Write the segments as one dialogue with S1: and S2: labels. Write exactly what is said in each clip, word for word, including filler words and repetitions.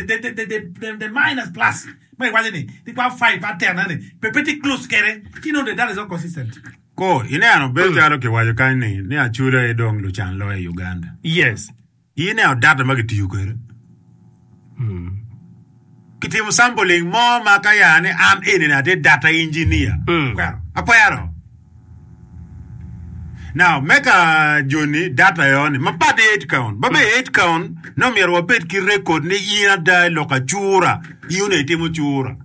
S1: The the the the the minus plus ma iwaco ni ni kwa five pa ten ni pe pe tye close kede ci nongo the data is not consistent.
S2: Ko, ineno bedo calo kiwaco kany ni ni Acholi aye dong lucan loyo i Uganda.
S3: Yes.
S2: Ineno data ma kitiyo kwede. Kitimo sampling mo ma ka ya ni an eni ni atye data engineer.
S1: Kwero.
S2: Akwero. Now, me ka joni data eo ni mapat i head count. Ba be head count no myero wabed ki record ni in ada i lok acura. In onongo itimo cura.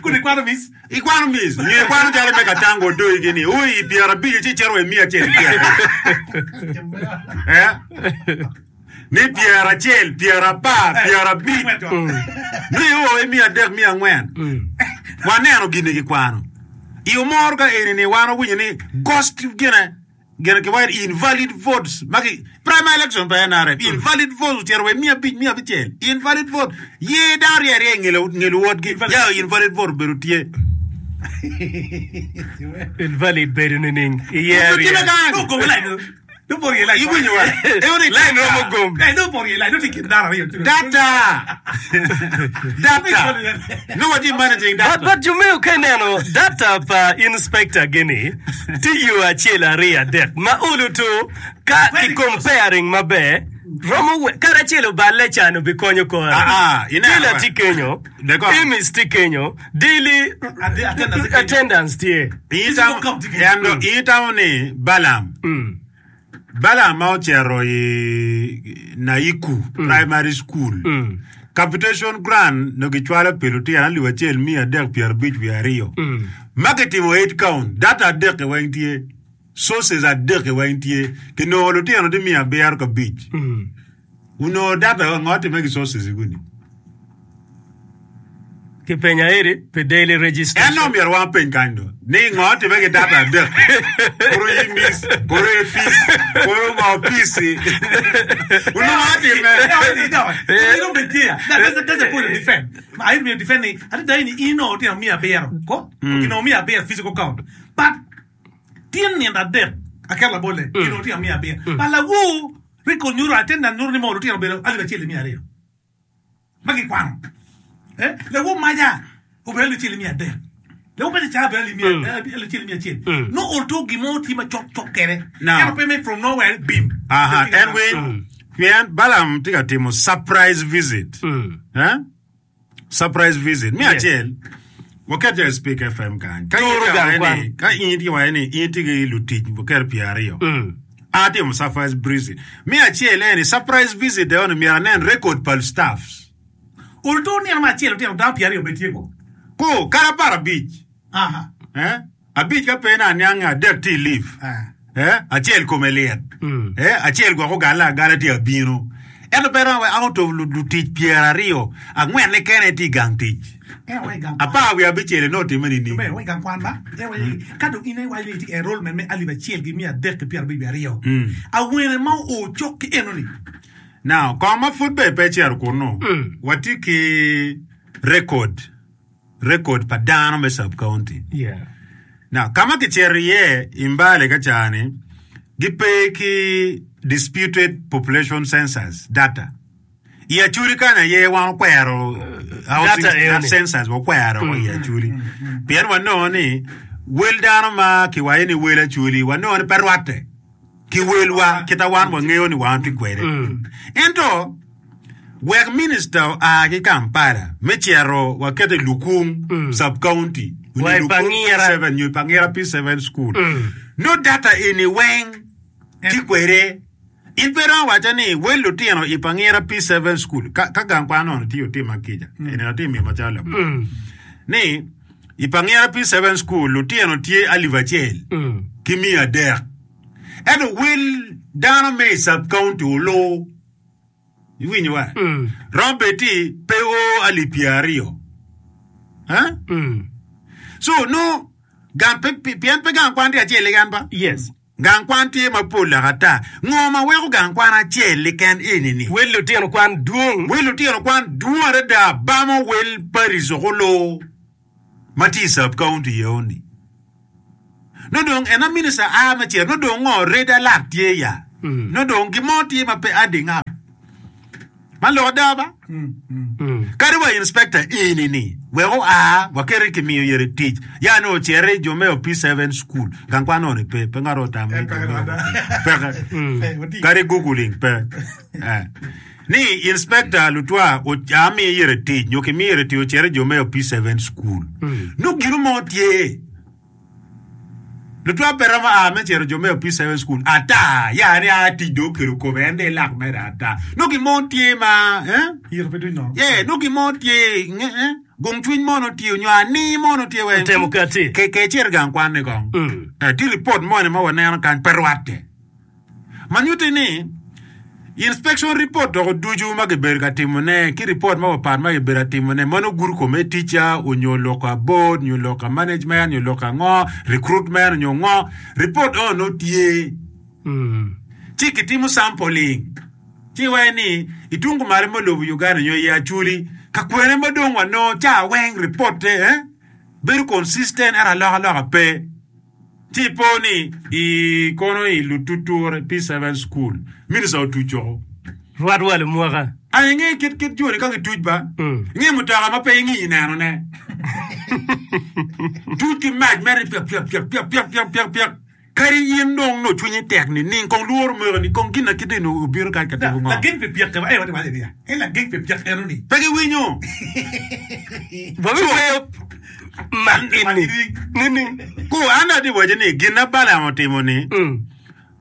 S1: Kun ikwano mic.
S2: Ikwano mic. Nyo ikwano calo me katango odoi gini. Ui, pyerabic ci icito wa i miya acel ki pyeraryo. Eh? Ni pyeracel, pyerapar, pyerabic. Ni o i miya adek, miya angwen. Waneno gini kikwano. I omoro ka eni ni wan owinyo ni ghost gine gine kiwaco ni invalid votes ma ki primary election pa N R M invalid votes ocito wa i miya abic, miya abicel invalid vote ye dano rye arye nge luwotgi ya invalid vote obedo tye.
S3: Invalid bedo nining? Iye
S2: Obedo tye
S3: arye.
S2: me kany.
S1: No go line. No por ye line.
S2: Iwinyo wa? Eo ni
S3: Line romo
S2: data.
S3: gom.
S1: Eh, no por ye line. No tye kin dano aryo.
S2: Data. Data. No watye managing
S3: But,
S2: data.
S3: but Jumeo ka ineno data pa inspector gini tye yo acel aryo adek ma olo to ka ki comparing maber romo we kadi acel oballe can obikonyo kore.
S2: Ah, ah, ineno
S3: Tiller
S2: wa?
S3: tye kenyo,
S2: Deko.
S3: Emis tye kenyo, daily
S1: Attendance tye kenyo.
S3: attendance tye.
S2: Itamo endo itamo ni Balaam.
S3: Mm.
S2: Balaam ma ocito i Naiku Primary School.
S3: Mm.
S2: Capitation grant no gicwalo pi lutino alip acel miya adek pyerabic wiye aryo.
S3: Mm.
S2: Ma kitimo head count, data adek weng tye. Sources adek weng tye. Kinongo lutino tye miya abiro ka abic.
S3: Mm.
S2: Onongo data ngo time ki sources guni.
S3: Kipenyo eri pi daily
S2: En
S3: registration.
S2: no myero wan peny kany do. Ni ngo time ki data adek. Koro imis, koro epis, koro ngo pisi. Onongo atime.
S1: No, no, That's, that's the point of defend. I will defend ni. Ati dai ni ino tino mia abiro. Ko? Kino mia abiro physical count. But tin ni adek akela bole. Kino tino mia abiro. But lawu record nyuro attendance nyuro ni mo tino bedo alif achiel mia ariyo. Magi kwano. Eh? Lawu maja obedo alif achiel mia adek. Lawu maja cha obedo alif mia alif achiel mia achiel. No olto gimo ti ma chok chok kere.
S2: Now.
S1: Kero payment from nowhere bim.
S2: Aha, en winy. Pien Balaam tye ka timo surprise visit.
S3: Mm.
S2: Eh? Surprise visit. Mi
S3: Yes.
S2: acel, waket jo i Speak F M kany. Ka in
S3: Turo
S2: tye
S3: gang
S2: waco
S3: kwan.
S2: ni, ka in tye waco ni in tye ki lutic waket pyeraryo.
S3: Mm.
S2: An atimo surprise visit. Mi acel eni surprise visit eo ni myero anen record pa staffs.
S1: Olto nino ma achiel otino dano pyeraryo be tye ko.
S2: Ko, kara apar abic.
S1: Aha.
S2: Eh? Abic ka pe na aniang adek tye i leave.
S1: Ah.
S2: Eh? Acel kome lyet.
S3: Mm.
S2: Eh? Acel gwok ogale agala tye abino. Ento pe romo out of lutic pyeraryo, angwen kene tye i gang tic.
S1: Eh, wa i gang kwan.
S2: Apar wiye abicel eno otime nining?
S1: Be, wa i gang kwan ba. Eh, wa i- ka dong in iwaco ni itye ki enrollment me alip acel ki miya adek ki pyerabic wiye aryo. Awene ma oo cok ki eno ni.
S2: Now, kong ma pud be pe cito kunu, watye ki record, record pa dano me sub county.
S3: Yeah.
S2: Now, kama kicito iye i Mbale ka cani, gipe ki disputed population census data. I Acholi kany aye wan okwero housing
S3: Data eo ni.
S2: census wakwero i Acholi. Pien wanongo ni wel dano ma kiwaco ni wel Acholi wanongo ni pe rwatte ki welwa kita wan wangeyo ni wan tye kwede. Ento wek minister oa ki Kampala me cito waketo i Lukung sub county
S3: Wa i Pangira.
S2: P seven nyo i Pangira P seven school. No data eni weng tye kwede. In pe romo waco ni wel lutino i Pangira P seven school ka, ka gang kwan ono tye otima kica. Eni atye miyo macalo labol. Ni i Pangira P seven school lutino tye alip acel
S3: Mm.
S2: ki miya adek. Ento wel dano me i sub county olu iwinyo wa?
S3: Mm.
S2: Romo bed ti pe o alip pyeraryo. Eh?
S3: Mm.
S2: So no gang pe, pe, pien pe gang kwan tye acel keken ba?
S3: Yes.
S2: Gang kwan tye mapol ata. Ngo ma weko gang kwan acel keken eni ni?
S3: Wel lutino kwan dwong.
S2: Wel lutino kwan dwong adada bamo wel Paris okolo ma tye i sub county eo ni. No dong ena minister a me cito no dong ngo red alert tye ya.
S3: Mm.
S2: No dong gimo tye ma pe adding up. Man lok ada ba? Kadi wa inspector eni ni wek oa wakete kimiyo yere tic ya ni ocere jo me P seven school gang kwan oni pe pe ngato otamo ni jo me peke kadi googling pe eh. Ni inspector lutwa amiye yere tic nyo kimiyo yere tic ocere jo me P seven school nongo gino mo tye Lutwa pe romo a me cito jo me P seven school ata ya ni a tic dong okelo kome en dong ilak mere ata nongo gin mo tye ma eh
S1: Yito pe duny nono.
S2: Yeah, nongo gin mo tye nge eh gung cwiny mo nongo tye onyo ani mo nongo tye weng
S3: Otemo kati.
S2: Ke ke icito i gang kwan ni kong.
S3: Mm.
S2: Eh, tye report moni ma waneno kany pe rwatte. Ma nyutti ni inspection report doko ducu ma kibedo ka timone ki report mapapat ma kibedo ka timone ma nongo gudo kome ticca onyo lok a board nyo lok a management nyo lok ango recruitment nyo ngo report eno nongo tye ci kitimo sampling ci iwaco ni i tung kumalo me lobo Uganda nyo i Acholi ka kwene ma dong wanongo ca weng reportte eh bedo consistent ento alokaloka pe. Ci ipo ni i kono i Lututure P seven School, minista otuc oko.
S3: Rwat wa lumwaka.
S2: An inge kit kit joni ka gituc ba? Inge mutoka ma pe ingiyo neno ne. Tuc ki mac mere piak piak piak piak piak piak piak piak. Kadi in dong nongo cwinyi tek nining, kong lworo moko ni kong gin na kite ni obino kany ka timo ngo.
S1: Lageng pi pyek en watye waco niya, en lageng pi pyek eno ni.
S2: Pe giwinyo.
S3: Wabiweyo mak eni nining?
S2: Ku, an atye waco ni gin na Balaam otimo ni,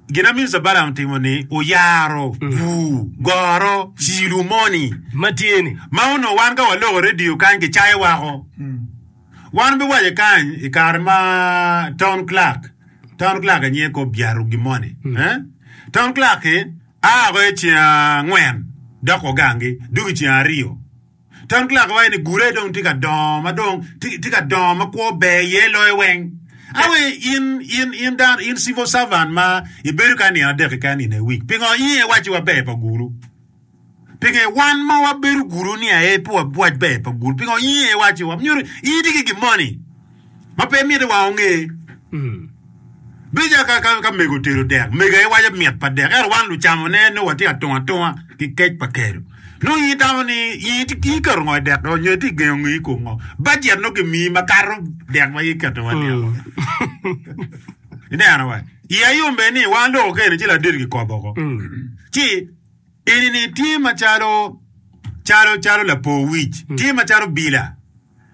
S2: gin na Minista Balaam otimo ni oyaro bur, goro, cilo moni
S3: Ma tye ni.
S2: ma onongo wan ka waloko redio kany kicayo wako. Wan obiwaco kany i kare ma town clerk, town clerk aye ko byaro gin moni. Eh? Town clerk-ki a oko i ceng angwen dok ogangi dok i ceng aryo. Town clerk waco ni gure dong tye ka dongo ma dong tye ka dongo ma kwo ber iye loyo weng. Awe in in in dano in civil servant ma ibedo kany nino adek keken in a week pingo in iwaci wa ber pa guru? Pingo wan ma wabedo guru ni aye pe wabwac ber pa guru? Pingo in aye iwaci wa myero in itye ki gin moni ma pe miti wa onge? Bedo ka, ka, ka mego otedo dek, mego aye waco mit pa dek, ento wan lucamone nongo watye atunga atunga ki kec pa kelo. Nongo in itamo ni in iketo ngo i dek nyo itye gengo ngeyi i kom ngo? Bajet nongo kimiyi makato dek ma in iketo wa ni. Ineno wa? Iya yom bene ni wan loko kene ci ladit kikobo oko. Ci eni-ni tye macalo calo calo lapo wic, tye macalo bila.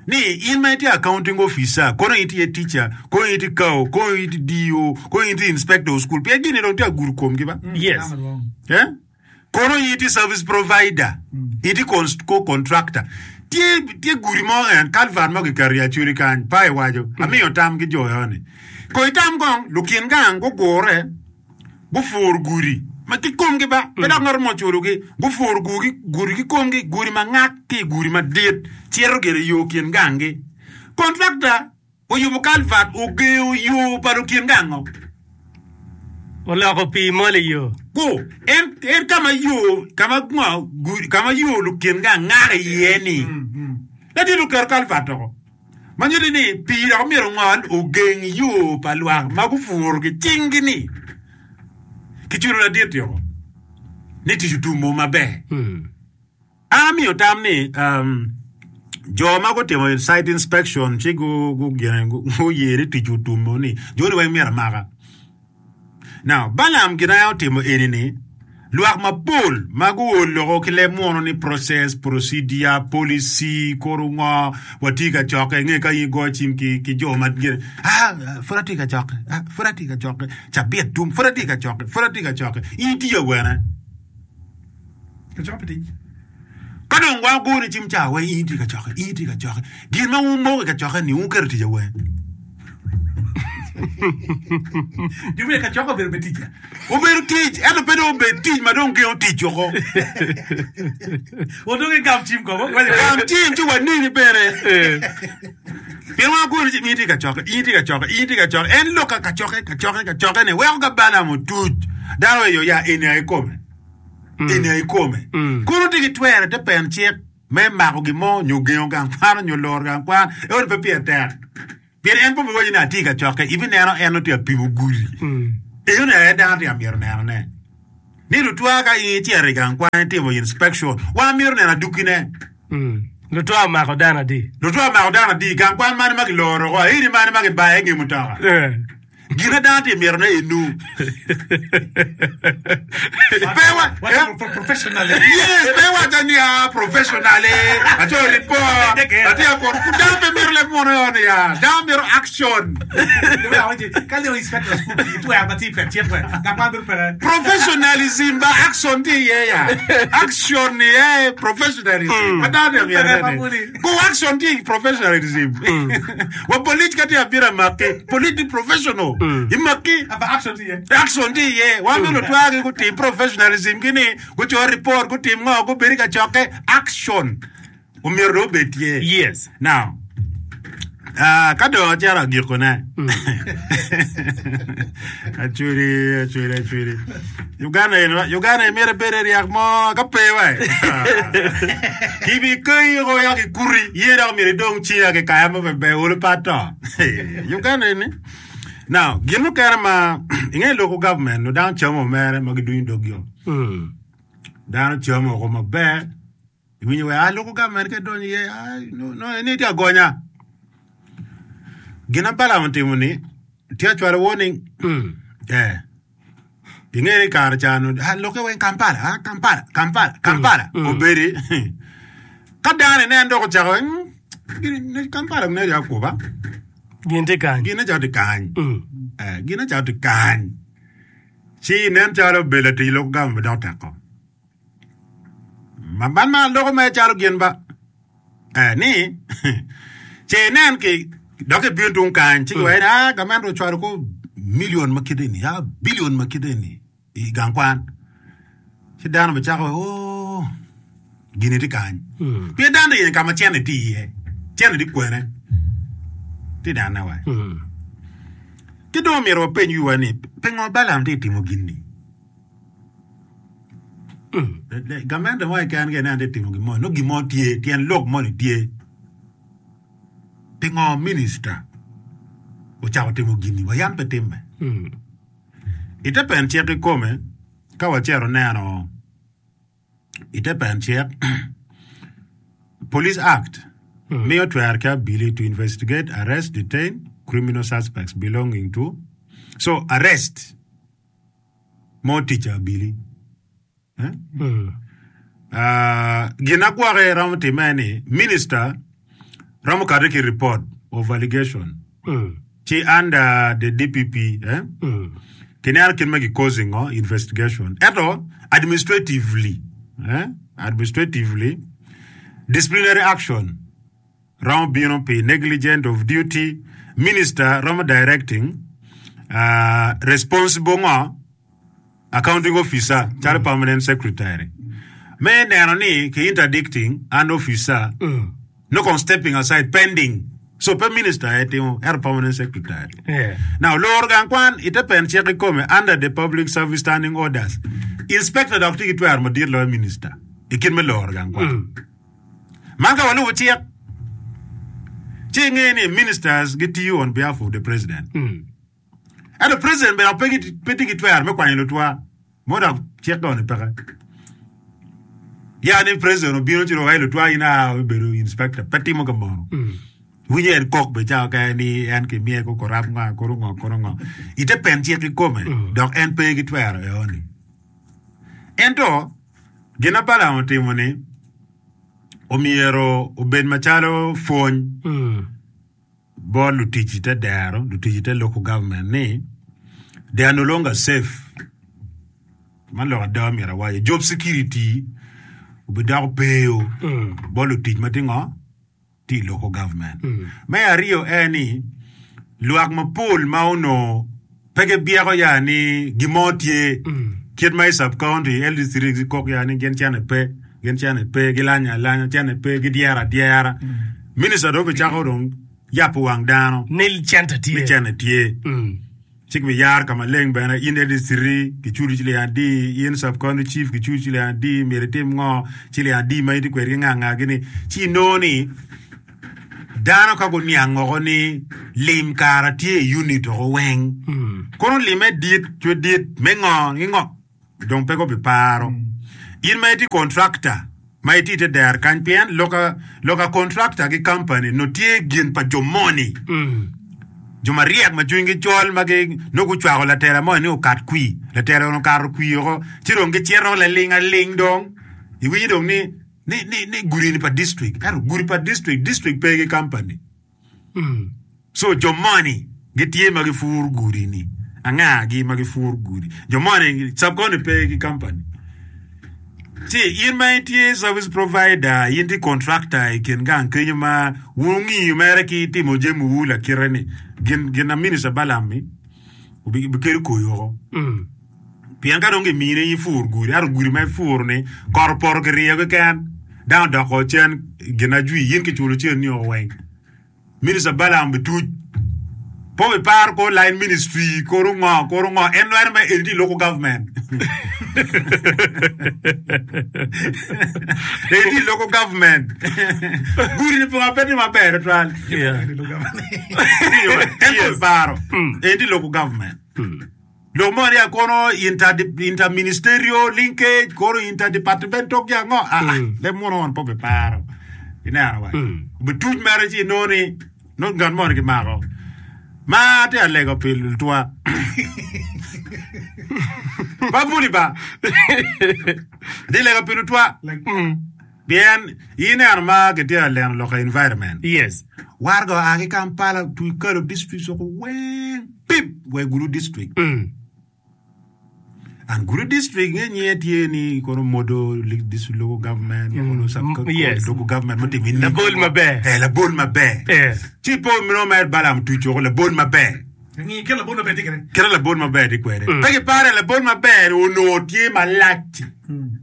S2: Ni in ma itye accounting officer, kono in itye teacher, kono in itye C A O, kono in itye D O, kono in itye inspector of school, pien gin-ni dong tye agudo komgi ba.
S3: Yes.
S2: Eh? Kono in itye service provider, itye co-contractor. Tye, tye gudi mo en, culvert mo kiketo i Acholi kany, pa iwaco, amiyo tam ki jo eo-ni. Kong itam kong, lukin gang gugure, gupuro gudi ma ki komgi ba, pe dok ngat mo oculogi, gupuro gudi ki komgi, gudi ma ngak ki i gudi madit cito gire i yo kin ganggi. Kontrakta oyubo kalvat ogengo yo pa lukin gango.
S3: Oloko pii mol i yo.
S2: Ku, en, en ka ma yo, ka ma ngo, gudi, ka ma yo lukin gang ngak iye ni. Ladit oketo kalvat oko. Ma nyuto ni pii dok myero ongol ogeng yo pa lwak ma gupuro ki cinggi-ni. Kiculo ladit-ti oko ni tic otumo maber. An amiyo tam ni jo ma gutimo site inspection ci guye ni tic otumo ni joni weng myero amaka. Now, Balaam gin aye otimo eni ni, lwak mapol ma guol loko ki leb muno ni process, procedure, policy, koro ngo, watye ka cokke, inge ka in igoyo cim ki, ki jo ma gin, ah, pud atye ka cokke, ah, pud atye ka cokke, cabit tum, pud atye ka cokke, pud atye ka cokke, in itiyo awene?
S1: Kacokke pi tic.
S2: Ka dong wan wagoni cim ca weng, in itye ka cokke, in itye ka cokke. Gin ma wumoko i kacokke ni wuketo tic aweng.
S1: Jo me kacokke obedo me tic.
S2: Obedo tic, ento pe dong obed tic ma dong gengo tic woko.
S1: Wadong i gam cim kong.
S2: Gam cim ci waneni bene. Pien wan wagoni cim, in itye ka cokke, in itye ka cokke, in itye ka cokke. En lok ka kacokke, kacokke, kacokke ni weko ka Balaam otuc. Dano oeyo ya eni aye kome. Eni aye kome. Kono tye ki twero i te pen cik me mako gin mo nyo gengo gang kwan nyo loro gang kwan, ento pe pire tek. Pien en pe obiwaco ni atye ka cokke, ibineno en nongo tye ka pimo gudi. Enoni aye dano tye ka mito nenone. Ni lutwa ka in icito i gang kwan itimo inspection, wan myero neno adukine.
S3: Lutwa omako dano adi?
S2: Lutwa omako dano adi? Gang kwan mane ma kiloro oko? Aini mane ma kibayo i nge mutoka? Gin ma dano tye ka mitone enu. Pe wa Yes, pe waco ni a professional acoyo report, atye ka kono. Dano pe mito leb munu yo ni ya. Dano mito action. Professionalism ba action tye iye ya. Action ni eh professionalism. Ma dano tye ka mito ni. Ku action tye i professionalism. Wa polic ka tye abino amaki, polic ni professional. Imaki. Action tye iye. Wan bene lutwagi gutim professionalism gi ni guco report, gutim ngo, gubed i kacokke. Action omyero dong obed tye.
S3: Yes.
S2: Now, ah, ka dong acito agikone, acwili, acwili, acwili. Uganda eni, Uganda eni myero ibed i ryak mo ka pe wa. Kibikeyi oko ya kikuti, iye dok myero idong cinga ki kaya mo ber olo pe ato. Uganda eni. Now, gin mukene ma inge local government no dano camo mere ma gidunyo dog yo. Dano camo oko maber. Iwinyo wa ah local government ka idonyo iye ah no no eni tye agonya. Gin ma Balaam otimo ni tye acwalo warning. Eh. Inge ni kare ca no ah lokke weng Kampala ah Kampala Kampala Kampala obedi ka dano inen dok ocako mm, Kampala ne akuba
S3: Gin tye kany.
S2: gin calo tye kany eh gin calo tye kany ci nen calo obedo latic local government dok teko ma man ma loko mere calo gin ba eh ni ce inen ki dok ibino tung kany ci giwaco ni ah gamente ocwalo ko million ma kite ni ah billion ma kite ni i gang kwan ci dano bicako oh gini tye kany pien dano tye ka ma cene tye iye cene tye kwene tye nene wa ki dong omyero wapeny wiwa ni pingo Balaam tye ka timo gin-ni gamente mo keken ka ineno tye ka timo gin mo nongo gin mo tye tyen lok moni tye pingo minista ocako timo gin-ni wa yam pe timme i te pen cik kikome ka wacito neno i te pen cik Police Act miyo twero ki abili to investigate, arrest, detain criminal suspects belonging to so arrest mo tic abili eh? Uh, gin agwoke romo time ni minister romo kati ki report of allegation ci under the DPP eh? kineno kit ma causing oh, investigation ento administratively eh? administratively disciplinary action romo bino pi negligent of duty minister romo directing uh, responsible ngo accounting officer calo permanent secretary me neno ni ki interdicting an officer no kon stepping aside pending so pe minister aye timo ento permanent secretary
S3: Yeah.
S2: now loro gang kwan ite pen cik kikome under the public service standing orders inspector dok tye ki twero madit loyo minister i kit me loro gang kwan man ka walubo cik ci inge ni ministers gitiyo on behalf of the president ento president bene pe gi- pe tye ki twero me kwanyo lutwa mo dok cik doni peke ya ni president obino ci dong ai lutwa in a obedo inspector pe timo ka mono winyo en kok be cawa kene ni en kimiye ko corrupt ngo koro ngo koro ngo ite pen cik kikome dok en pe ki twero eoni ento gin ma Balaam otimo ni omyero obed macalo pwony bot lutic ite dero lutic ite local government ni they are no longer safe man lok ada myero awaco job security obidoko peo bot lutic ma tye ngo tye i local government me aryo en ni lwak mapol ma onongo pe gibyeko ya ni gin mo tye kit ma i sub county L D three gikok ya ni gin cene pe gin cene pe gilanyo alanya cene pe gidyero adyera minister dong obicako dong yabo wang dano
S3: Ni cente
S2: ni
S3: tye.
S2: cene tye ci kibiyaro ka maleng bene in L D three kiculi ciling adi in sub county chief kiculi ciling adi myero itim ngo ciling adi ma itye kwedgi nga nga gini ci inongo ni dano ka guniang oko ni lim kara tye i unit oko weng kono lime dit cwe dit me ngo ki ngo Dong pe gubiparo. In ma itye contractor ma itye ite dero kany pien loka loka contractor ki company nongo tye gin pa jo moni. Jo maryek ma cwinygi col ma gi nongo gucwako latela moni ni okat kwir. Latela onongo okato kwir oko ci dong gicito laling aling dong iwinyo dong ni ni ni ni gudi ni pa district ento gudi pa district district pe ki company. So jo moni gitye ma gipuro gudi-ni. Angagi ma gipuro gudi? Jo moni sub-county pe ki company. Ci in ma itye service provider, in tye contractor i kin gang kenyo ma wun wungiyo mere ki timo jamiwu lakite-ni, gin gin na Minister Balaam-mi obikelo koyo woko. Pien ka dong gimini in ipur gudi, ento gudi ma ipuro-ni kot opoto kiryeyo keken, dano odoko cen gin ajwi, in kiculo cen-ni woko weng. Minista Balaam bituc. Pe obiparo kor line ministry, kor ngo, kor ngo, en nwero mere eni tye i local government. Eni tye i local government. Gudi ni punga pe tye maber tutwal.
S3: Yeah.
S2: En pe obiparo. Eni tye i local government. Lok mo ni kono inter interministerial linkage kono interdepartmental ki ango ah ah leb muno on pe obiparo ineno wa obituc mere ci inongo ni nongo ngat moni kimako ma atye ka lego pi lutwa pa puli ba atye lego pi lutwa pien ineno ma kitye ka leno lok environment
S3: Yes.
S2: warga oa ki Kampala otwi kalo districts woko weng pip wa i Gulu district.
S3: Mm.
S2: And Gulu district nge nyinge tye ni kono Modo district local government kono sub
S3: Mm, yes.
S2: local government mutimo in
S3: Labol maber.
S2: Eh, labol maber.
S3: Eh.
S2: Ci po mino mer Balaam tuco woko labol maber.
S1: Ngi kit labol maber tye kwede.
S2: Kite labol maber tye kwede. Pe gipare labol maber onongo tye malac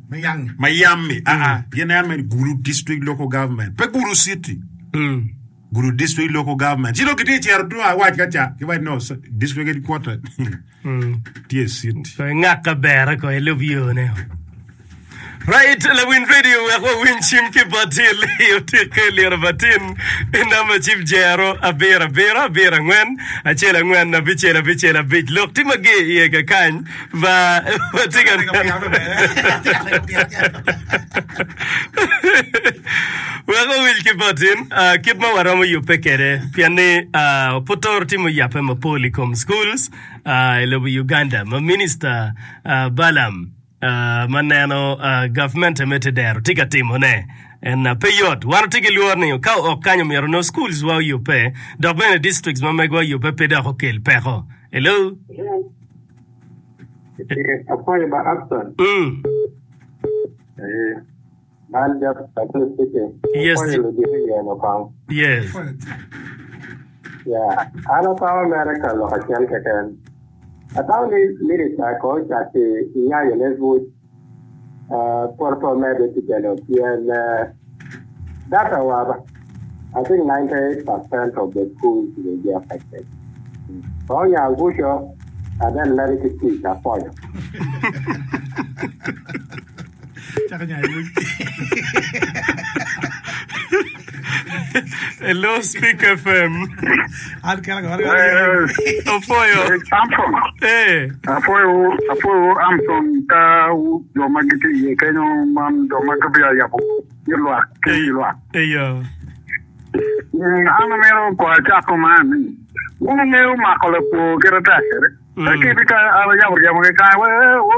S1: Me yang.
S2: ma yammi. Ah ah, gin en mere Gulu district local government. Pe Gulu city.
S3: Mm.
S2: Gulu district local government. Ci dong kitye cito tung awac ka ca, giwaco no district headquarter tye i city.
S3: Ko ingak ka bere ko ilub yone. Right, lawin radio wek wawiny cim ki bot i otikke liro batin i namba cim jero abiro abiro abiro angwen acel angwen abicel abicel abic. Lok tye mager iye kakany ba watye ka neno. Wek wawiny ki botin ah, kit ma waromo yubbe kwede pien ni ah, pud toro timo yabbe mapol i kom schools ah, i lobo Uganda ma Minister ah, Balaam ah, ma neno ah, gavmente me tedero tye ka timone en ah, pe yot. Wan watye ki lworo ni ka ok kany omyero nongo schools wa oyubbe dok bene districts ma megwa oyubbe pe dok okel peko. Hello?
S4: Apwoyo ba Abson.
S3: Mm.
S4: Eh, man Jeff Abson speaking.
S3: Yes.
S4: Apwoyo ludito yeno kong.
S3: Yes.
S4: Yeah, an atamo mere ka lok acel keken. Atamo ni minister ko ocaki nyanyo ne buc uh, pwod pe omedde ticce pien uh, data wa I think ninety-eight percent of the schools will be affected. So nya buco and then let it teach apwoyo.
S1: Cako nyayo buc.
S3: Hello, Speak F M.
S1: An kela ka wan-
S3: Opwoyo.
S5: Samson.
S3: Eh.
S5: Apwoyo, apwoyo Amson ka jo ma gitye iye kenyo man jo ma gibia yabo i lwak ki i lwak.
S3: Eyo.
S5: Mm, an amito ko acako man ni wun wungeyo mako lapur kite tek kede.
S3: Mm.
S5: Kiti ka an ayabo ryemo ki kany, we, we, we,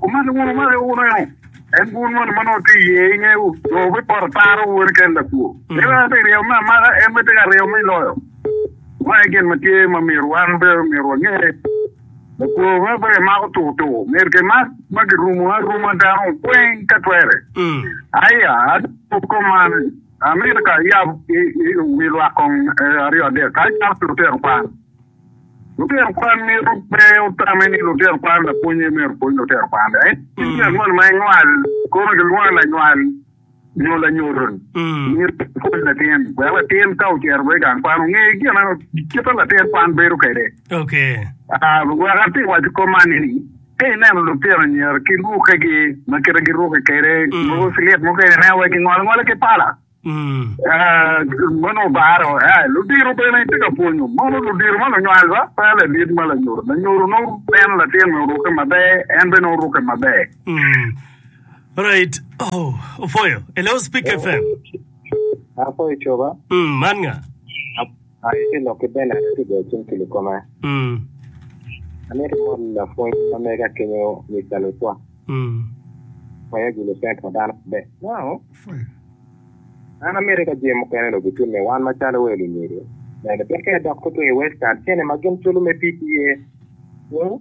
S5: omaki wun, omaki wun eno. En wun moni ma nongo tye iye ingeyo, jo bipoto taro wun ken lapur.
S3: Mm.
S5: En aye tye ryemo me amaka, en bene tye ka ryemo me loyo. Ma aye gin ma tye ma myero wan bene myero wange. Lapur ma pe kimako tukutuku, myero kimak ma kirumo aruma dano weng ka twere.
S3: Mm.
S5: Aya, adoko man, amito ka yab i, i, wi lwak kong, eh, aryo adek, ka acako ki lutino kwan. Lutino kwan myero pe otame ni lutino kwan lapwonye myero opwony lutino kwan. Eh,
S3: Mm.
S5: ngat moni ma inywal, kono kilwongo lanywal nyo lanyodo.
S3: Mm.
S5: Myero opwony latin. Wek latin ka ocito i gang kwan onge gin ma kit ma latin kwan bedo kwede.
S3: Okay.
S5: Ah, wek atye waco kom man ni, ka ineno lutino anyira ki rukkegi ma kite girukke kwede,
S3: Mm.
S5: mogo silit mukene ineno wek gingolo angola ki pala.
S3: Mm.
S5: Meno obaro, eh, ludiro bene tye ka pwonyo. Mono ludiro ma lunywal ba, pe ladit ma lanyodo. Lanyodo nongo neno latin orukke maber, en bene orukke maber.
S3: Mm. Right. Oh, opwoyo. Hello, Speak F M.
S4: Apwoyo coba.
S3: Mm, man nga.
S4: Aye lok ki bene ki go cim ki lukoma.
S3: Mm.
S4: Amito mon lapwony ma mega kenyo Mister Lutwa.
S3: Mm.
S4: Waya gulo cent ma dano be. No. An amito ka jami mukene dong gitimme wan macalo wel lunyodo. Neno pien ka idok tutwe i Western, cene ma gin culo me P T A. Hmm?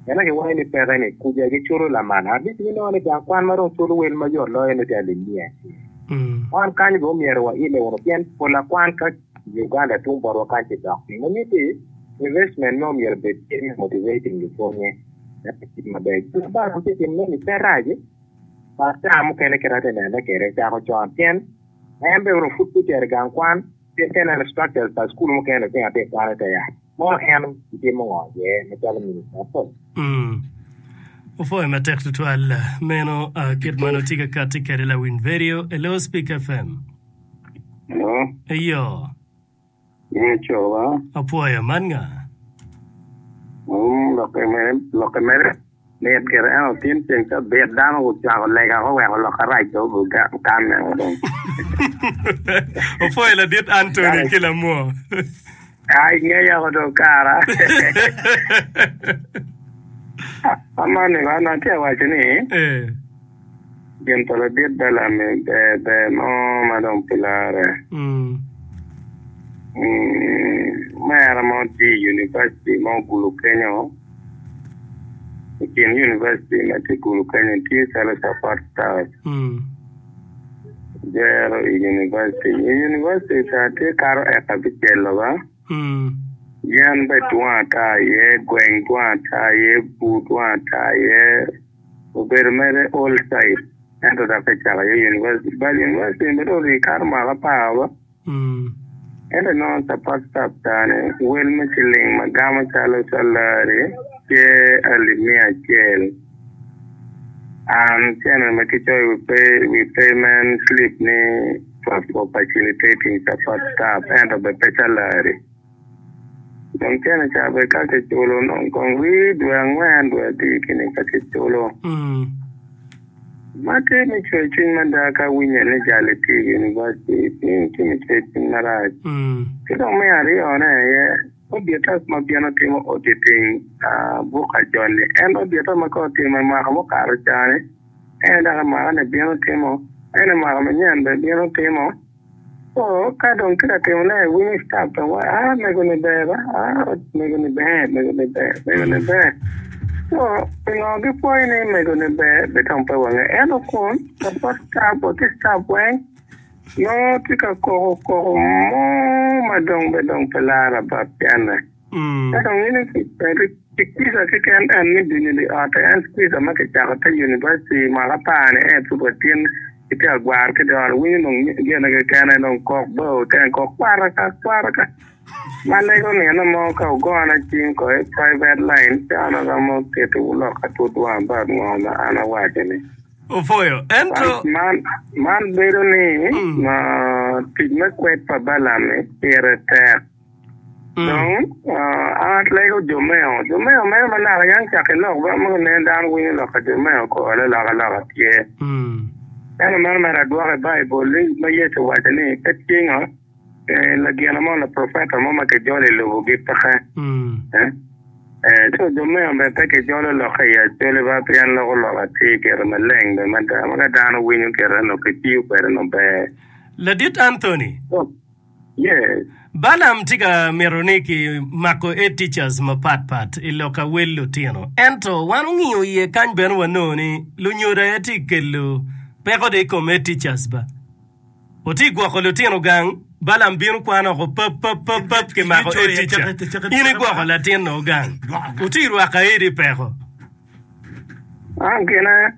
S4: Ena giwaco ni peke ni kuja giculo lamal. At least ginongo ni gang kwan ma dong culo wel mayot loyo ni tye alip miya acel.
S3: Mm.
S4: Wan kany bene omyero waile wunu pien pol akwan ka Uganda tung botwa kany ci dok piny. Ma nyutti investment me omyero bed tye me motivating lupwonye. Maber. Ba tye timone ni pe rac. Ba ca mukene kit ate nene kede cako con pien en bene pud ocito i gang kwan pien ka ineno structures pa school mukene lutino atye ka kwan ite ya. Mo en timo ngo iye macalo minister apol.
S3: Mm. Opwoyo matek tutwal meno uh, kit ma nongo tye ka kati kede lawiny video. Hello, Speak F M.
S4: Hello.
S3: Eyo.
S4: Ye coba.
S3: Opwoyo man nga.
S4: Mm, lokke mere, lokke mere. Mit gire en otin ceng cabit dano gucwako lega ko weko lok arac do okanne o dong.
S3: Opwoyo ladit Anthony ki lamwo.
S4: Ai ngeya ko dong kara. Amani ba na tye awaco ni
S3: Eh.
S4: gin pa ladit Bellamy ber ber mo ma dong pi lare.
S3: Mm.
S4: Mm, mera mo tye i university ma ogulu kenyo. I kin university ma tye gulu kenyo tye calo support staff.
S3: Mm.
S4: Jero i university. I university ca tye karo eka bicelo ba.
S3: Mm.
S4: Yen be dwong ata iye, gweng dwong ata iye, bur dwong ata iye. Obedo mere old site. Ento dok kicako iye university. But university bene ori karo mwaka apar ba.
S3: Mm.
S4: Ento nongo support staff cani wel me ciling ma gamo calo salary tye alip mia acel. An cene ma kicoyo wi pay, wi payment slip ni for, for facilitating support staff ento be pe salary. Dong cene ca be ka kiculo nongo kong rii dwe angwen dwe adek ni ka kiculo.
S3: Mm.
S4: Ma tye me cwer cwiny mada ka winyo ni jali tye i university, tye me cwer cwiny marac.
S3: Mm.
S4: Ki dong me aryone aye auditor ma bino timo auditing uh, book ajoni. En auditor ma ka otimo i mwaka mukato cani, en dok i mwaka ni bino timo, en i mwaka manyen bene bino timo. So, ka dong tye ka timone, winyo staff dong wa, ah, mego ni ber ba, ah, mego ni ber, mego ni ber, mego ni ber. So, pingo gipwoyo ni mego ni ber, bitong pe wange. Ento kun, support staff, wa ki staff weng, nongo tye ka koko koko mo ma dong be dong pe lara ba piene.
S3: Mm.
S4: Ka dong in squeezer keken en ni dini di ot, en squeezer ma kicako te university mwaka apar ni en pud watin itye agwar ki di ot, winyo dong gine kekene dong kok bo ten kok kwaraka kwaraka. Ma lego nino mo ka ogona cim ko i private line, ci an aromo tito lok atutwa about ngo ma an awaco ni.
S3: Opwoyo. Ento
S4: Man, man bedo ni
S3: Mm.
S4: ma tic me kwed pa Bellamy pire tek.
S3: Mm.
S4: Dong, uh, an lego jo meo. Jo meo meno ma naka yang cako i lok ba, ma nen dano winyo lok ka jo meo kore loka loka tye.
S3: Mm.
S4: Ento meno mere adwoke i Baibul ni ma Yecu owaco ni pe tye ngo, eh, lagina mo, la profeta mo ma kijolo i lobogi peke.
S3: Mm.
S4: Eh? Eh, so jo meo bene pe kijolo lokke i acoli ba, pien loko lok atir gire maleng bene mada. Ma ka dano winyo gire no kitiyo kwede no ber.
S3: Ladit Anthony.
S4: Oh, yes.
S3: Balaam tye ka mito ni ki mako eight teachers mapat pat i lok awel lutino. Ento wan ong'iyo iye kany bene wanongo ni lunyodo aye tye kelo peko de i kom eight teachers ba. Oti gwoko lutino gang, Balaam bino kwan oko pap pap pap pap ki mako eight teacher. In igwoko latin no gang. Oti rwako aye di peko.
S4: Ah, gine,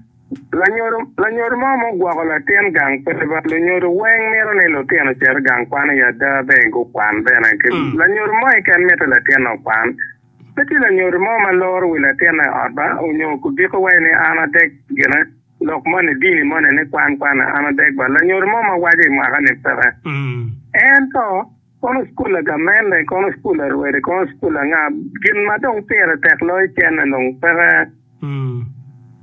S4: lanyodo, lanyodo mo mo gwoko latin gang pe ba, lunyodo weng mito ni lutino ocit gang kwan i ada bene gukwan bene. Ki
S3: Mm.
S4: lanyodo mo keken mito latin okwan. Pe tye lanyodo mo ma loro wi latin i ot ba, onyo kudiko wai ni an adek gine. Lok moni dini moni ni kwan kwan an adek ba lanyodo mo ma waco i mwaka ni peke. Ento kono cukul a gamente, kono cukul a rwede, kono cukul anga gin ma dong pire tek loyo cene dong peke.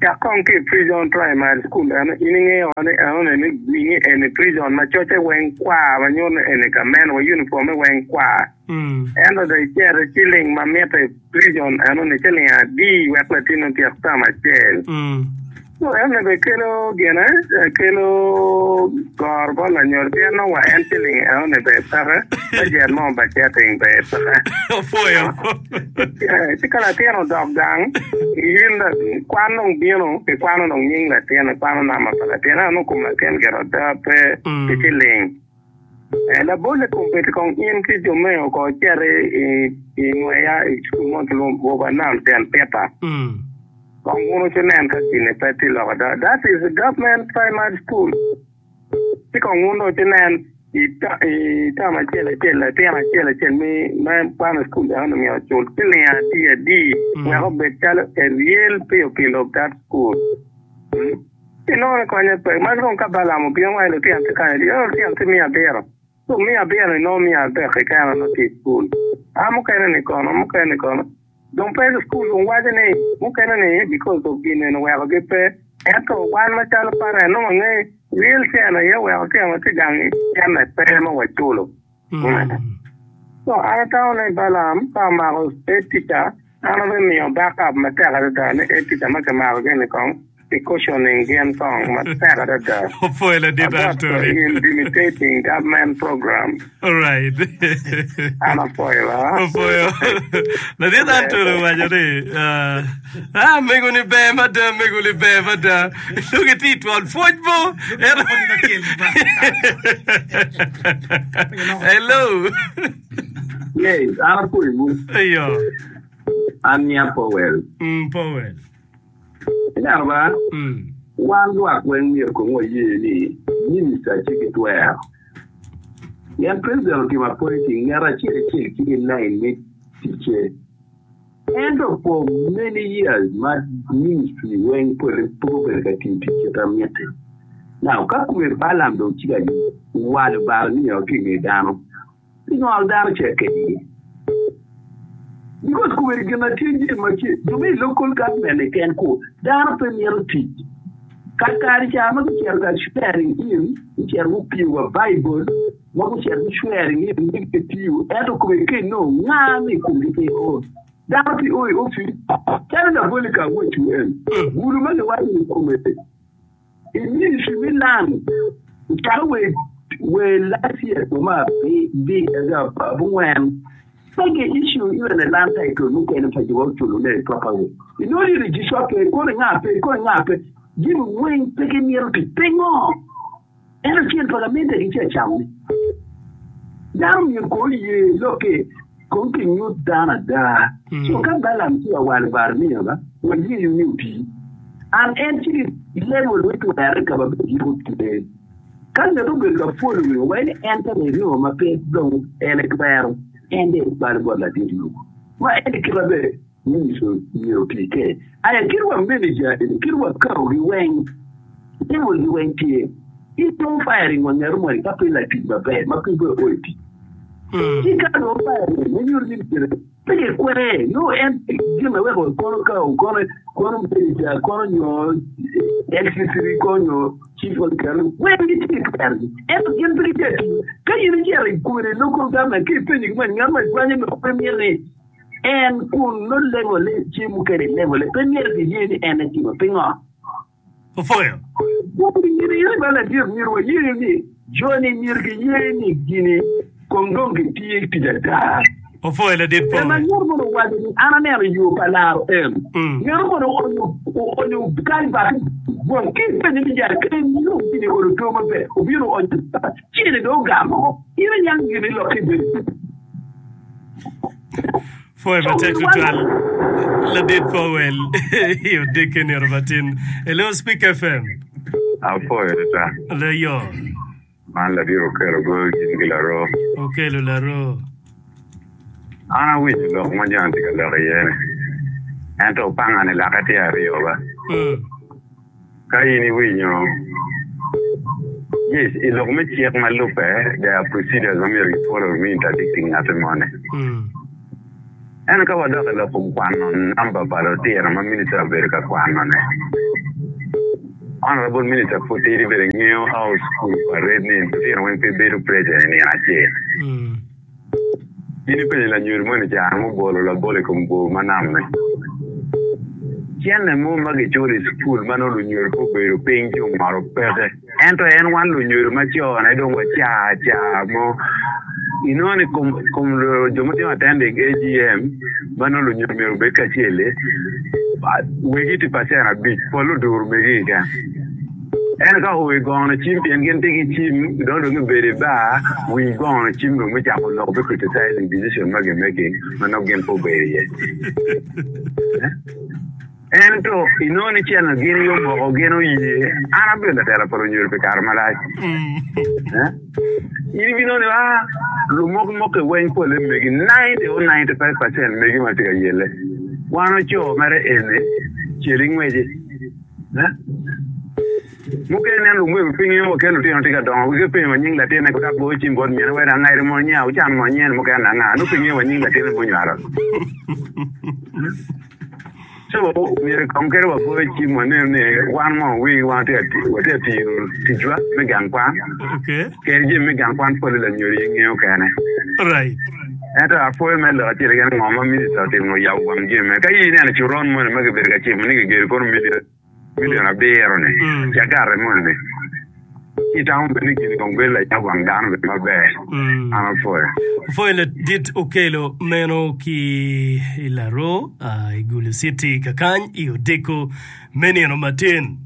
S4: Cak kong ki i prison primary school eno in ingeyo ni enoni ni gwinyi eni prison ma coce weng kwar ma nyuto ni eni gamente wa uniforme weng kwar. Ento dong icito ciling ma mitte i prison enoni ciling adi wek latin otyek term acel. So enoni bene kelo gine kelo goro bot lanyodo pien nongo wa en ciling enoni bene peke bajet mo bajeting bene peke.
S3: Opwoyo.
S4: Ci ka latin odok gang in kwan dong bino kikwano dong nying latin kikwano namba pa latin ento nongo kom latin gire ada pe ki ciling. Labolle kombeddi kong in ki jo meo ko icito i ngweya i cukul mo kilwongo Nam Saint Peter. Kong wun wucinen ka gini pe tye lok ada. That is a government primary school. Ci kong wun dong wucinen i term acel acel latin acel acel me kwano i cukul enoni myero ocul ciling adi adi wek obed calo a real pupil of that school. Ci nongo ni konye pe. Ma dong ka Balaam obino waco lutino tye kany adi? Oh, lutino tye miya abiro. So miya abiro ni nongo miya adek keken nongo tye i cukul. A mukene ni kono, mukene ni kono. Dong pe cukul dong waco ni mukene ni because of gin eni owekogi pe. Ento wan macalo parent nongo wangeyo real cene aye oweko tyen watye gang cene pe ma waculo. So an atamo ni Balaam ka omako head teacher an abimiyo backup matek adada ni head teacher ma kimako gini kong ki cautioning gin kong matek adada
S3: Opwoyo ladit
S4: about
S3: Anthony.
S4: intimidating government program.
S3: All right.
S4: An apwoyo ba.
S3: Opwoyo. Ladit Anthony owaco ni uh, ah, mego ni ber mada, mego ni ber mada. Dong itye i twon pwoc bo. Hello.
S6: Yes, an apwoyo.
S3: Ayo.
S6: An nya Powell.
S3: Mm, Powell.
S6: Ineno ba,
S3: Mm.
S6: wan lwak weng myero kong waye ni minister tye ki twero. Pien president otimo appointing ngat acel acel tye ki line me ticce. Ento for many years ma ministry weng pole pe obedo ka tiyo tic kit ma mitte. Now ka kome Balaam dong tye ka walo baro ni ki i nge dano, pingol dano cek kedi. Because kome gin ma tye jami ma tye jo me i local government keken ku dano pe mito tic. Kakare ca ma gucito ka swearing in, gucito gupiyo wa Bible, ma gucito gu swearing in ni gitiyo, ento kome ka inongo nga ni komgi pe o. Dano pe o i office, calo labole ka awacwu en, gudo ma giwaco ni kome i ministry me land, ocako we we last year ma bi bi abungwen pe gi issue even a land title mukene pa jo oculo ne properly. Inongo ni registrar pe, kono nga pe, kono nga pe, jami weng pe gimito tic pingo? Ento cen pa gamente gitye ka camone. Dano myero ko oye lokke kong kinyut dano ada. So ka Balaam tye ka walo Barnea ba, wayeyo ni oti. An en tye ki level me twere ka ma be giko tye. Ka ngat obedo ka following waci ni en ka ringo ma pe dong en etwero, en dong ebalo bot ladit lobo. Ma en kite be minister myero oti ke. Aya kit wa manager eni, kit wa kao gi weng, level gi weng tye. Itong firing wa ngeto moni ka pe latic maber ma pe be o i tic. Ci ka dong firing me nyuto ni myero pe gikwere no en gin ma weko kono kao kono kono manager kono nyo L C three kono nyo chief of council weng gitye ki twergi. Ento gin pe gitye ka tiyo. Ka in icito i kwede local government ka ipenyo ki mani ngat ma ikwanyo lok pe myero ni en kun no level tye mukene level pe myero giye ni en etimo pingo.
S3: Opwoyo.
S6: Gwok gin iri ba ladit myero waye ni joni myero giye ni gini kong dong gitye tic ada.
S3: Opwoyo ladit
S6: Ema
S3: Powell.
S6: ngat mono owaco ni an aneno yo pa laro en.
S3: Mm.
S6: Ngat mono oonyo oonyo kalbat bong ki ipenyo ni jal ka inongo gini olo to maber obino oonyo cene dong ogamo. In onyang gini lokke bedo.
S3: Pwoyo matek tutwal ladit Powell i odekke nino matin. Hello Speak F M.
S7: Apwoyo tata.
S3: Leyo.
S7: Man ladit Okello goyo gin ki laro.
S3: Okello laro.
S7: An awinyo lok ma jo-ni tye ka lok iye ni. Ento opanga ni lake tye aryo ba.
S3: Mm.
S7: Ka in iwinyo, yes, i lok me cik ma lubbe, there are procedures ma myero gifollow me interdicting ngati moni. Ento ka wadok i lok kom kwano namba pa lutino ma minista obedo ka kwanone, Honourable Minister pud tidi bene ngeyo how school operate ni lutino weng pe bedo present i nino acel. In ipenyo lanyodo moni ca mubolo labol i kom bor ma namme. Cente mo ma giculo i cukul ma nongo lunyodo pe obedo piny ci ongolo peke. Ento en wan lunyodo ma cone dong waca aca mo. Inongo ni kom, kom jo ma timo attending A G M ma nongo lunyodo myero obed kacel-li, wegi tye percent abic, pol oduro megi keken. Ento ka oo i gono cim pien gin tye ki cim dong dong gibedo i bar wi gono cim dong me cako lok me criticizing decision ma gimaking ma nongo gin pe obedo iye. Ento inongo ni cen gin aye omoko gin oye. An abedo latela pa lunyodo pi kare malac. In ibinongo ni ah lumok mokke weng pole megi ninety or ninety five percent megi ma tye ka yelle. Wan oco mere eni cel ingweci. Mukene nen lumego pingi wa kelo lutino tye ka dongo wigi penyo wa nying latinne ko dok goyo cim bot mine wek angeri mo nya wucan mo nyen mukene anga nongo pe ngeyo wa nying latinne munywalo. So myero kong kede wagoyo cim waneno ni wan mo wigi wan watye ka tiyo ticwa me gang kwan
S3: Okay.
S7: kede jami me gang kwan pole lanyodo aye ngeyo kene.
S3: Right.
S7: Ento apwoyo me lok acel keken ngo ma minista otimo oyabo wang jami me ka in ineno coron moni ma kibedo ka cimo ni kigedo kono million million abiro ni
S3: Mm.
S7: cagare moni ni ci itamo bene ni gini kong bedo layab wang dano bene maber.
S3: Mm.
S7: An apwoyo.
S3: Pwoyo ladit okelo meno ki i Laro uh, i Gulu City kakany i odiko me nino matin.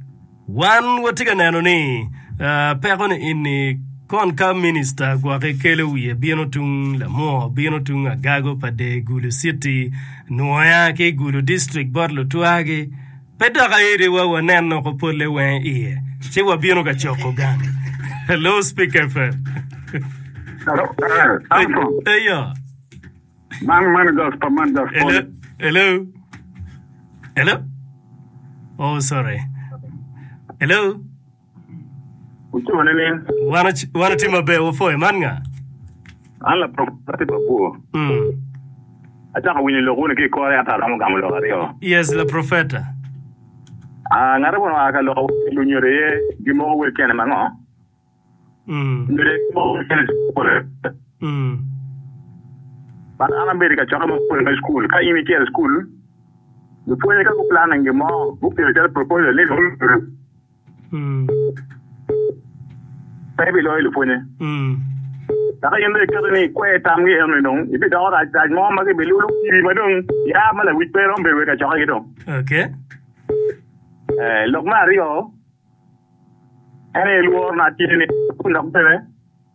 S3: Wan watye ka neno ni uh, peko ni ini kon ka minista gwoki kelo wiye bino tung lamwo bino tung agago pa de Gulu City nwoya ki Gulu District bot lutwagi pe dok aeri wa waneno ko pole weng iye ci wabino ka coko gang. Hello, Speak F M.
S5: Hello, eh, Armstrong.
S3: Eyo.
S5: Man man gas pa man gas
S3: Hello.
S5: pole.
S3: Hello. Hello. Oh, sorry. Hello.
S5: Ucimo ni ni
S3: Wan wan tye maber wapwoyo man nga.
S5: An la professor Babuo.
S3: Mm.
S5: Acako winyo lok wuni ki i kore ata aromo gamo lok aryo.
S3: Yes, la profeta.
S5: Ah, ngati kono oa ka loko lunyodo iye gimoko wel cene ma ngo?
S3: Mm.
S5: Lunyodo iye gimoko wel cene pole.
S3: Mm.
S5: But an abedo i kacokke mapol me school. Ka in icito i school, lupwonye ka guplanning gin mo, gukelo calo proposal ni lunyodo
S3: Mm.
S5: pe biloyo lupwonye.
S3: Mm.
S5: Dok in dong iketo ni ikwer tamgi eno ni dong ibidoko rac rac mo ma gibilulo kidi ma dong ya ma lawic pe romo bedo i kacokkegi dong.
S3: Okay.
S5: Eh, lok me aryo en aye lworo na tye ni dok bene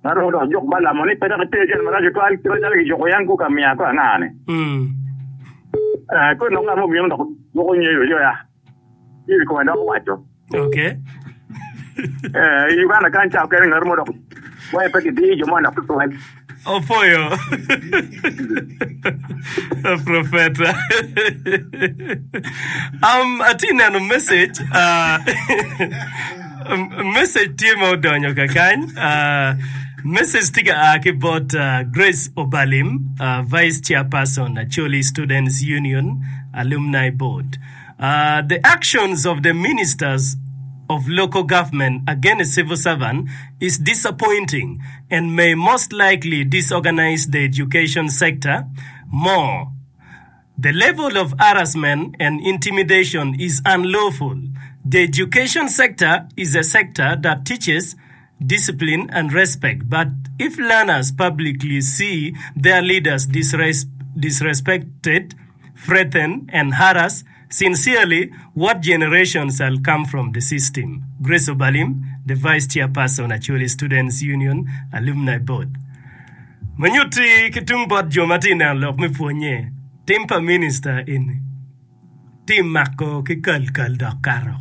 S5: ma romo dok juk balamo ni pe dok iter cene marac tutwal kit macalo gijuko yan ku ka miya ko anga ni.
S3: Mm.
S5: Eh, koro dok ngat mo obino dok juko nyeyo yoya ci i kome dok owaco.
S3: Okay.
S5: Eh, i Uganda kany ca kene ngat mo dok waye pe gidiyo jo mo dok tutwal.
S3: Opwoyo. Profeta. um, atye neno message. Uh, message tye ma odonyo kakany. Uh, message tye ka a ki bot uh, Grace Obalim, uh, Vice Chairperson, Acholi Students Union Alumni Board. Uh, the actions of the ministers of local government against civil servant is disappointing and may most likely disorganize the education sector more. The level of harassment and intimidation is unlawful. The education sector is a sector that teaches discipline and respect, but if learners publicly see their leaders disres- disrespected, threatened, and harassed, sincerely, what generation shall come from the system? Grace Obalim, the Vice Chairperson, Acholi Students Union Alumni Board. Manyuti ki tung bot jo ma tye i neno lok me pwonye, tim pa minista eni, tim mako ki kal kal dok kato.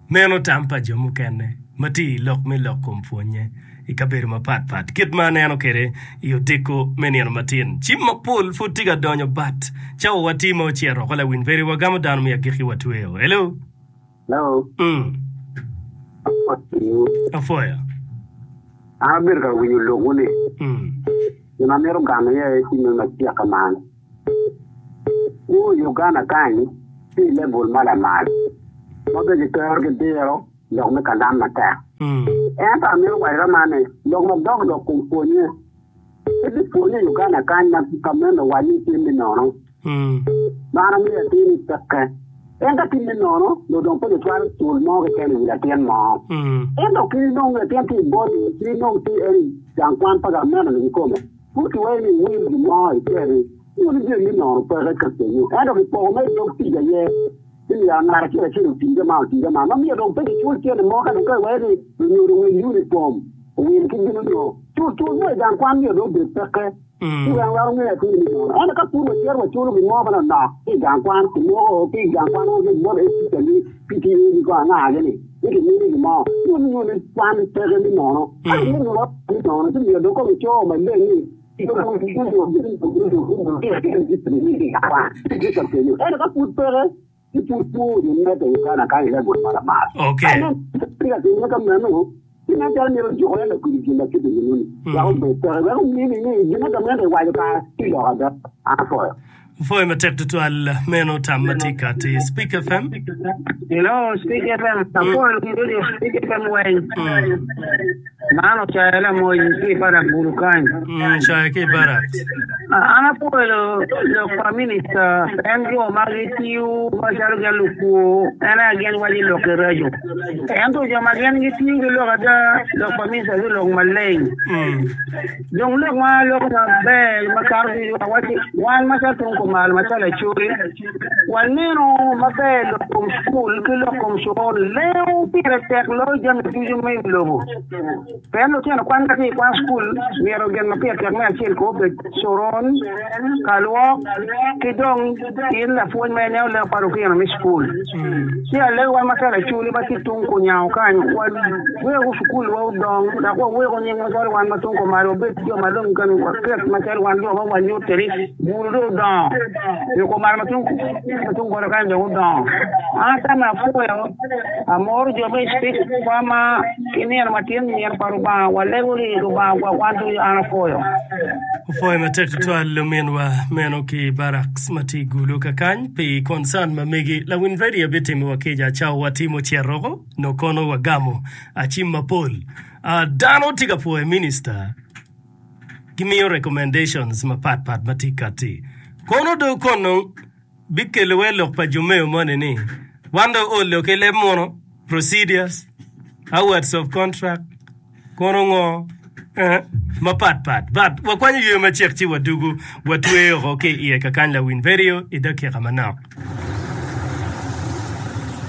S3: Meno tam pa jo mukene ma tye i lok me lok kom pwonye i kabedo mapat pat. Kit ma aneno kwede i odiko me nino matin, cim mapol pud tye ka donyo bat cawa wa tye ma ocito oko lawiny veri wagamo dano me agikki watweyo. Hello.
S4: Hello.
S3: Mm. Afoya.
S4: An abedo ka winyo lokwu-ni.
S3: Mm.
S4: Gin amito gamo iye ci me macek man. Kwo i Uganda kany tye i level ma lamal ma be gitero ki diro lok me kalam matek.
S3: Mm.
S4: Ento amito waco man ni lok madok lok kom pwonye. Pe gipwonye i Uganda kany ma ka meno owaco ni tye me nono.
S3: Mm.
S4: Man amiyo atir ni peke. En ka tye me nono, dong pe gicwalo cul mo keken i wi latin mo.
S3: Mm.
S4: Ento ki nongo latin tye i body, ki nongo tye en i gang kwan pa gameno ni kikome. Pud kiweyo ni iwil gin mo iceri, nyo ni jami me nono peke ka kenyo. Ento kipoko me dog tic aye, ni myero ngat acel acel otii ka man otii ka man. Ma miyo dong pe gicul cente mo ka dong ka iweyo ni lunyodo owil uniform, owil ki gin onyo. Cul cul mo i gang kwan myero dong obed peke.
S3: Mm.
S4: Ci weng weko ngeyo atir ni nono. Ento ka pud wacito waculo gin mo manok ki i gang kwan, kimoko ki i gang kwan ki bot teacher ni P T A ni ko anga gini, ni kimini gin mo. Nyo ni nyo ni kwan peke ni nono. Ka
S3: Mm.
S4: kimini gin ni nono, ci myero dong kong ico maleng ni Ento ka pud peke, ci pud pur medde i Uganda kany i level ma lamal.
S3: Okay.
S4: Ka inen tye ka timme ka meno, ci nen calo myero ojukore lakwidi gin ma kite gin-ni. Wek obed peke, wek omini ni gin ma gamente iwaco kare ci lok ada. An apwoyo.
S3: Pwoyo matek tutwal meno tam ma tye kati. Speak F M.
S8: Hello, Speak F M. Apwoyo radio Speak F M weng.
S3: Mm.
S8: Man ocayo lamoc ki i barak Gulu kany.
S3: Mm, cayo ki i barak.
S8: An apwoyo lok pa minista en jo ma gitiyo macalo gin lukwo en aye gin waco i lok ki reco. Ento jo ma gin gitiyo ki lok ada lok pa minista tye lok maleng.
S3: Mm.
S8: Dong lok ma aloko maber makato ducu awaci wan macalo tung kumalo macalo Acholi waneno maber lok kom cukul ki lok kom coron lengo pire tek loyo jami ducu me i lobo. Pien lutino kwan ka tye i kwan cukul myero gin ma pire tek me acel ko obed coron, kalwok ki dong in lapwony ma ineno lek pa lutino me cukul. Ci alego wan macalo Acholi ma tye tung kunyango kany waweko cukul wa odong dok waweko nying macalo wan ma tung kumalo wabed jo ma dong kan waket macalo wan jo ma wanyutte ni bulu dong odongo nyo kumalo ma tung ma tung godo kany dong odongo. An atamo apwoyo amoro jo me speak kwa ma ki nino matin nino pa Lubanga walego ni Lubanga gwok wan ducu an apwoyo.
S3: Opwoyo matek tutwal ominwa meno ki barracks ma tye i Gulu kakany pi concern ma megi. Lawiny radio bitimo wa kica cawa watimo cito no kono wagamo acim mapol. Uh, dano tye ka pwoyo minister gimiyo recommendations mapat pat ma tye kati. Kono do kono bikelo we lok pa jo meo moni ni wan do olo ki leb muno procedures awards of contract kono ngo eh, mapat pat but wakwanyo yweyo macek ci wadugu watweyo oko ki iye kakany lawiny radio i dakika manok.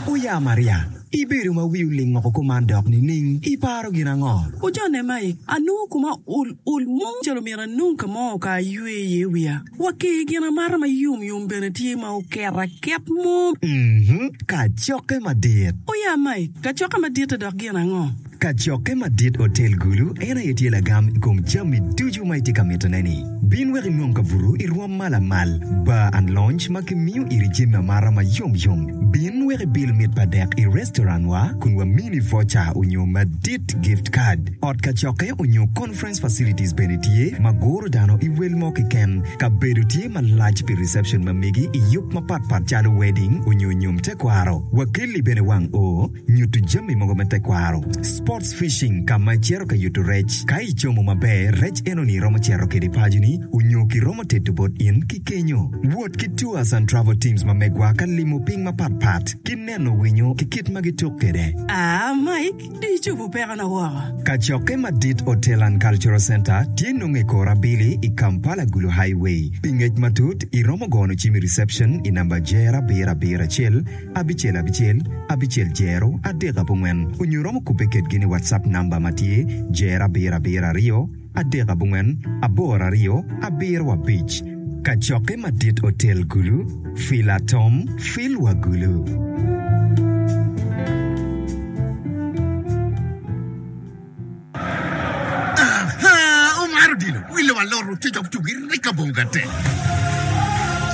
S9: Oya Maria, ibedo ma wi oling oko kuman dok nining? Iparo gin ango?
S10: Ojone Mike, anongo kuma ol ol mo calo myero anong ka mo ka aywe iye wiya. Waki gin amata ma yom yom bene tye ma oket aket mo.
S9: Mhm, kacokke madit.
S10: Oya Mike, kacokke madit dok gin ango?
S9: Kacokke madit Hotel Gulu en aye tye lagam i kom jami ducu ma itye ka mitone-ni. Bin wek inwong kabuto i rwom ma lamal, bar and lounge ma kimiyo iri jami amata ma yom yom. Bin wek ibil mit pa dek i restaurant wa kun wamini voucher onyo madit gift card. Ot kacokke onyo conference facilities bene tye ma guro dano i wel mo keken. Kabedo tye malac pi reception ma megi i yub mapatpat calo wedding onyo nyom tekwaro. Wakelli bene wang o nyuto jami mogo me tekwaro. Sports fishing ka ma icito ka yuto rec. Ka icomo maber, rec enoni romo cito kede paconi onyo kiromo tedo bot in ki kenyo. Wot ki tours and travel teams ma megwa ka limo piny mapatpat ki neno winyo ki kit ma gituk kede.
S10: Ah, Mike, di icobo pekona woko.
S9: Kacokke madit Hotel and Cultural Center tye nongo i kor abili i Kampala Gulu Highway. Pi ngec matut, iromo gono cim i reception i namba jer abiro abiro acel abicel abicel abicel jero adek abongwen onyo romo kubbe kedgi ni WhatsApp namba ma tye jer abiro abiro aryo adek abongwen aboro aryo abiro abic. Kacokke madit Hotel Gulu, Fila Tom, Fil wa Gulu.
S11: Aha, omaro dilo, wilo wa loro cocok tugi rika bonga te.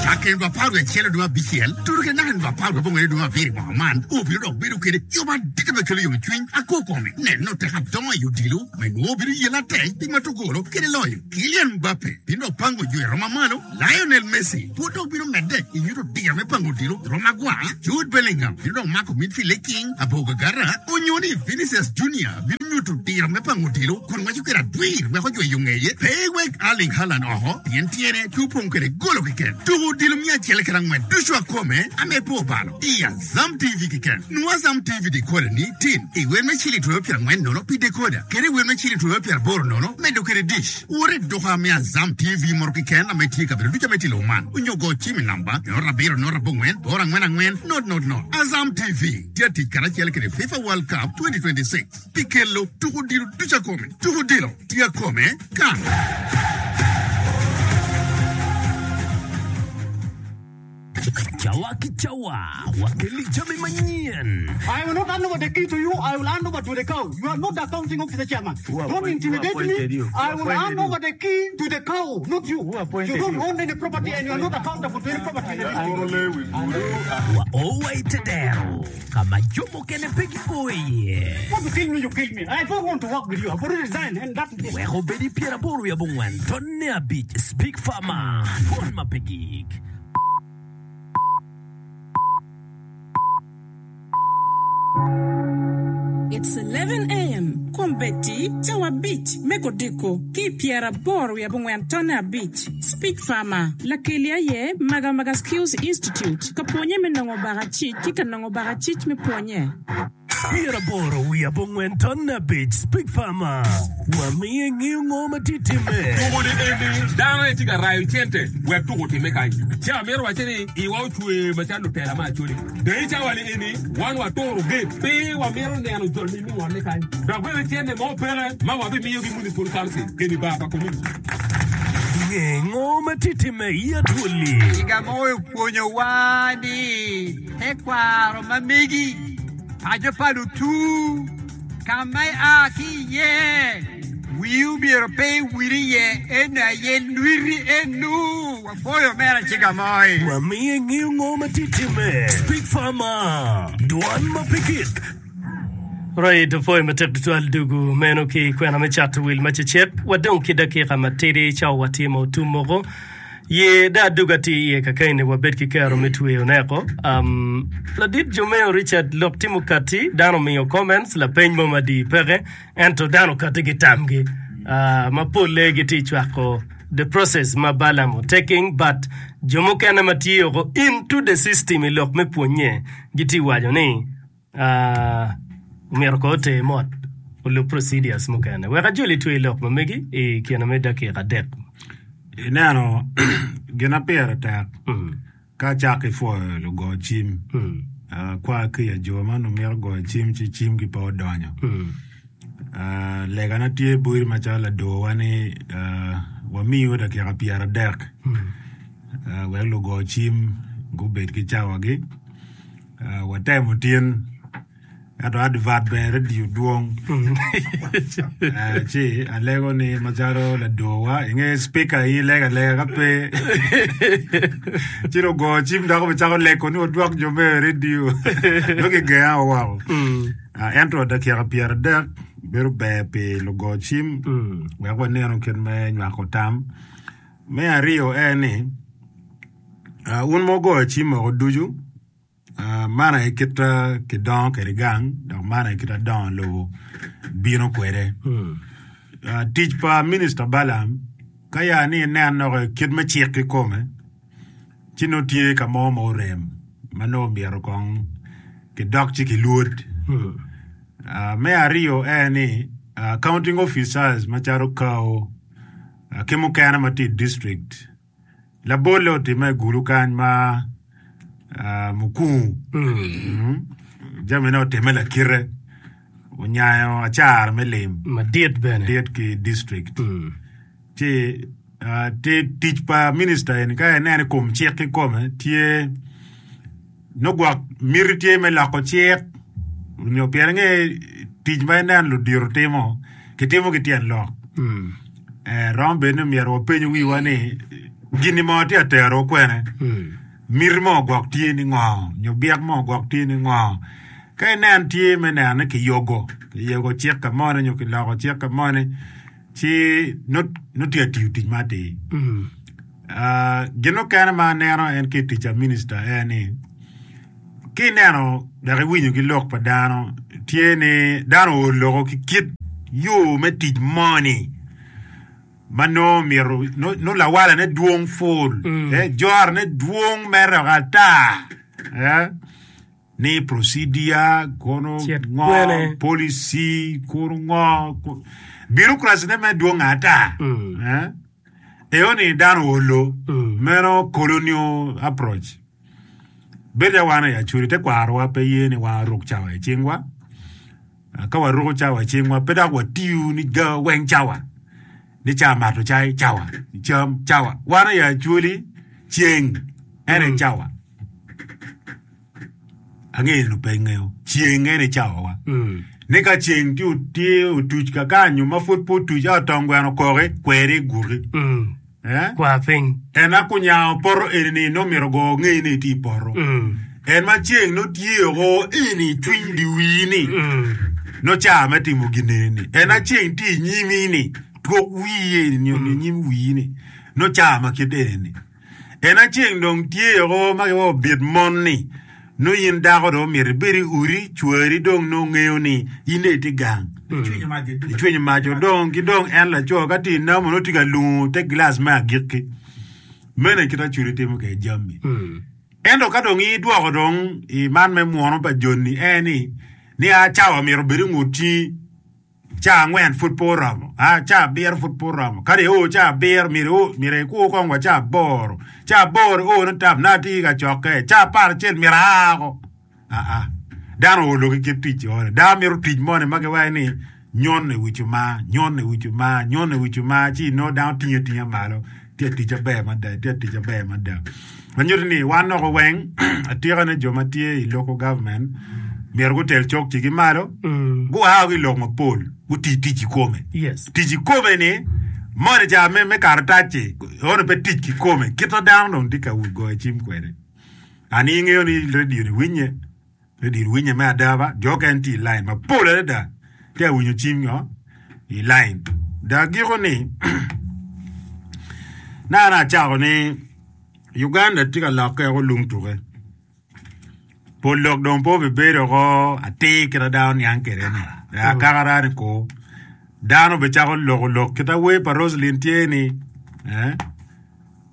S11: Cakke nino apar wiye acel dwe abicel tuto kede naka nino apar wiye abongwen dwe abiro i mwaka man, obino dok bedo kede yub madit me kelo yomcwiny akokome. Neno tek adongo i odilo ma inwongo obino yelo atek pi mato golo kede loyo. Kylian Mbappe bino dok pango jo i rom mamalo, Lionel Messi pud dok bino medde i nyuto diro me pango odilo i rom magwar, Jude Bellingham bino dok mako midfield i king Abogagara onyo ni Vinicius Junior bino nyuto diro me pango odilo kun ngweco kwede adwir weko jweyo ngeye. Pe iwek Erling Haaland oko pien tyene tye opong kwede golo keken. Tuko odilo miya acel kede angwen ducu akome ame pe obalo i Azam T V keken. Nwo Azam T V decoder ni tin i wer me ciling twero pyerangwen nono pi decoder kede i wer me ciling twero pyeraboro nono medo kede dish. Wot i duka me Azam T V moro keken ame tye i kabedo ducu ame tye i lobo man onyo go cim i namba nono abiro nono abongwen boro angwen angwen not not not. Azam T V tye atic karacel kede FIFA World Cup twenty twenty-six pi kelo tuko odilo ducu akome. Tuko odilo tye akome kan.
S12: Cawa ki cawa, wakelli jami manyen.
S13: I will not hand over the key to you, I will hand over to the cow. You are not the accounting officer chairman. Don't intimidate me. I will hand over the key to the cow, not you. You don't own any property and you are not accountable to any property in the district.
S12: Wa o wa i te dero ka ma jo mukene pe gio iye.
S13: Want to kill me, you kill me. I don't want to work with you. I've already resigned and that is it.
S12: Wek obed i pyeraboro wiye abongwen tonne abic Speak Farmer, Pwony ma pe gik.
S10: It's eleven A M kombeddi cawa abic me kodiko ki i pyeraboro wiye abongwen tonne abic. Speak Farmer, Lakeli aye Magamaga Skills Institute ka pwonye me nongo bakacic ki ka nongo bakacic me pwonye.
S12: Pyeraboro wiye abongwen tonne abic Speak Farmer, Wamiyo ingeyo ngo ma tye timme.
S14: Tuko ni eni dano aye tye ka rayo cente wek tuko otimme kany. Ci amito wacce ni iwa ocwer macalo lutela me Acholi. Dong i cawa ni eni wan waturo gate pe wamito neno jol ni mingole kany. Dok bene cente mo peke ma wabimiyo gi Municipal Council eni bar pa community.
S12: Nge ngo ma tye timme i Acholi.
S15: Higa mo opwonyowa ni tekwaro ma megi, paco pa lutu, ka ma ia ki iye, wii omyero pe iwil iye, eno aye lwiti enu. Wapwoyo omera Ciga Moi.
S12: Wamiyo ingeyo ngo ma tye timme. Speak Farmer, Dwan ma pe gik.
S3: Right, opwoyo matek tutwal dugu meno ki kwena me cato wil ma cecek. Wadong ki dakika matidi cawa watye ma otum moko. Ye da aduga tye iye kakaini wabed ki kero me tweyo neko. Um, ladit Jomeo Richard lok timo kati, dano omiyo comments, lapeny mo madii peke, ento dano okati ki tamgi. Uh, ma polle gitye cwako the process ma Balaam otaking, but jo mukene ma tye oko into the system i lok me pwonye gitye waco ni uh, omyero ko oter mot olub procedures mukene. Wek ajoli twe lok ma megi i kine me dakika adek.
S2: Ineno gin ma pire tek ka acako ki pwoyo lugo cim kwa ki i jo ma onongo mito goyo cim ci cimgi pe odonyo. Legana tye boti macalo ladorwa ni wamiu dakika pyeradek wek lugo cim gubed ki cawagi. Watemo tin ento advert bene radio dwong ci alego ni macalo ladorwa inge speaker in ilego alega ka pe ci lugo cim dok obicako lego ni odwok jo me radio nongo kigenga woko. Ento dakika pyeradek bedo ber pi lugo cim wek wanenu kit me nywako tam. Me aryo en ni wun ma wugoyo cim woko ducu man aye kit kidongo kwede gang dok man aye kit adongo lobo bino kwede. Tic pa Minista Balaam ka ya ni inen dok kit me cik kikome ci nongo tye ka mo ma orem ma nongo myero kong kidok ci kilwod. Me aryo en ni accounting officers macalo kao ki mukene ma tye i district labolle otimme i Gulu kany ma Mukungu jamine otimme lakite onyayo acara me lim
S3: madit bene
S2: dit ki district ci tic pa minista eni ka ineno i kom cik kikome tye nongo gwok miti tye me loko cik nyo pien inge tic ma ineno ludito timo kitimo ki tyen lok romo bedo ni myero wapenyo wiwa ni Gini mo tye atero kwene. Miti mo gwok tye ni ngo, nyo byek mo gwok tye ni ngo. Ka inen tye me neno ni kiyogo, kiyogo cik ka moni nyo kiloko cik ka moni, ci nongo tye atiyo tic ma atir. Gin mukene ma aneno en ki i tic pa minista en ni, ki ineno dok iwinyo ki lok pa dano, tye ni dano ool loko ki kit yo me tic moni. Ma nongo myero nongo lawalane dwong pul, eh, jorone dwong mere dok ata, eh, ni procedure kono
S3: Cet
S2: ngo,
S3: kwene.
S2: policy kono ngo, ko- bureaucracy ne mere dwong ata, eh. Eo ni dano oolo, meno colonial approach. Bedo ca wan i Acholi tekwarowa pe ye ni wan waruk cawa i cingwa. Ka waruko cawa i cingwa, pe dok watiyo ni ga weng cawa, ni ca mato cai cawa, cam cawa. Wan aye Acholi ceng en aye cawa. Angeyo ni pe ingeyo, ceng en aye cawawa. Ni ka ceng tye tye otuc kakany nyo ma pud pe otuc a otong gweno okoki, kweri iguti. Eh?
S3: Kwa piny.
S2: En a kunyango poto eni-ni nongo myero ogo ngei ni itye i poto. En ma ceng nongo tye oko eni i cwiny di wii-ni, nongo ca me timo gin eni-ni. En a ceng tye i nyimi-ni, twok wii eni nyo i nyim wii-ni, nongo ca ma kit eni-ni. En a ceng dong tye oko ma giwaco bit mon-ni, nongo in dako dong myero ibed i odi, cwari dong nongo ngeyo ni in dong itye gang. Icwinyo mac odong ki dong en laco ka tye i namo nongo tye ka lungo te gilac me agikki. Meno aye kit Acholi timo kwede jami. Ento ka dong idwoko dong i man me mwono pa joni en ni, ni a cawa myero obed i ngut cingi. Ca angwen pud pe oromo, a ca abiro pud pe oromo. Kadi io ca abiro, myero io, myero ikur kong wa ca aboro. Ca aboro io ni tam, nongo atye ka cokke. Ca apar acel myero aa oko. Aa, dano oolo ki kit tic eno. Dano mito tic moni ma giwaco ni nyon i wi cuma, nyon i wi cuma, nyon i wi cuma, ci inongo dano tinge atinga malo. Tye atic aber mada, tye atic aber mada. Ma nyuto ni wan noko weng atika ni jo ma tye i local government myero gutel cokcigi malo, gua ki i lok mapol, guti tic kikome.
S3: Yes.
S2: Tic kikome ni moni ca me, me karatac-ci ono pe tic kikome, kit ma dano dong tye ka goyo cim kwede. An ingeyo ni radio ni winye. Redio winye me ada ba, jo okene tye i lain mapol adada tye ka winyo cim nyo i lain. Dok agiko ni, naka acako ni Uganda tye ka lokke woko lung tuke. Pol lok dong pe obibedo woko atir kit ma dano niang kwede ni akakara ni ko dano bicako loko lok kit ma wer pa Roselyn tye ni eh,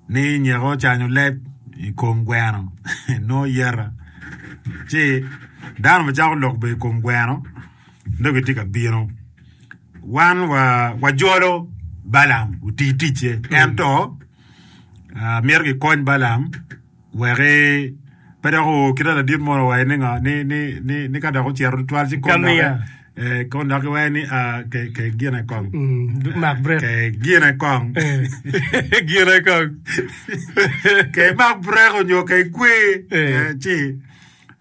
S2: ni nyeko ocanyo leb i kom gweno nongo yeta ci dano bicako lok bene i kom gweno nongo gitye ka bino wan wajolo Balaam oti ticce ento myero gikony Balaam wek pe dok oo kit ma ladit mo owaco ni ngo ni ni ni ni ka dok ocito tutwal ci kom doki eh, kom dok giwaco ni ah, ke ke gine kong
S3: mak brek
S2: ke gine kong
S3: gine kong
S2: ke mak brek onyo ke kwe eh, ci